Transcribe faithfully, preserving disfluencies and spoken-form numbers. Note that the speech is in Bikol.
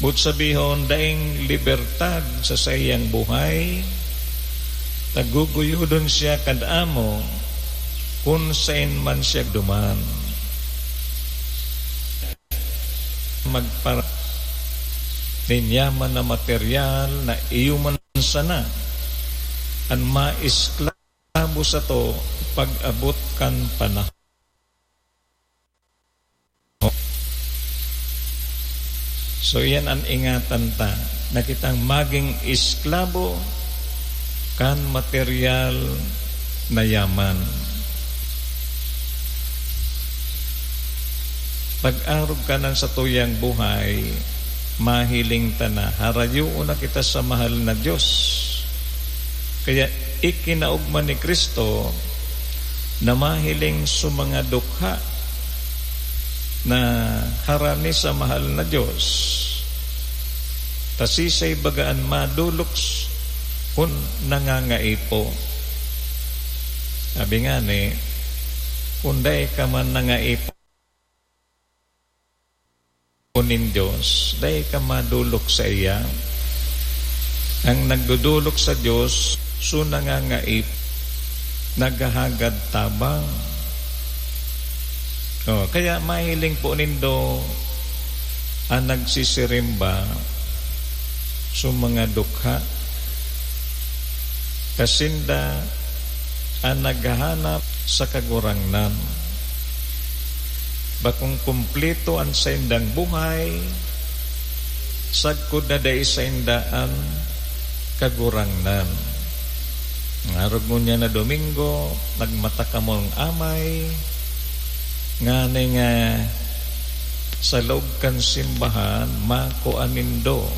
Boot sabihon, daing libertad sa saiyang buhay, ta guguyodon siya kan Amo kun saen man siya duman. Magpara-, nin yaman na materyal na iyo man sana an maesklabo sato pag-abot kan panahon. So, iyan an ingatan ta, na kitang magin esklabo kan materyal na yaman. Pag-arog kanan satuyang buhay, mahiling ta na harayoon na kita sa mahal na Dios. Kaya ikinaogma ni Cristo na mahiling sa mga dukha na harani sa mahal na Dios, ta siisay baga an madolok kun nangangaipo? Sabi ngani, kun dai ka man nangaipo nin Dios, dai ka madolok saiya. An nagdodolok sa Dios, so nangangaipo, naghahagad tabang. Oh, kaya mahiling po nindo an nagsisirimba sa mga dukha, ta sinda an naghahanap sa Kagurangnan. Bakong kumpleto an saindang buhay, sagkod na dai sainda an Kagurangnan. Ngarog ngunyan na Domingo, nagmata kamong amay, ngani nga sa laog kan simbahan, makua nindo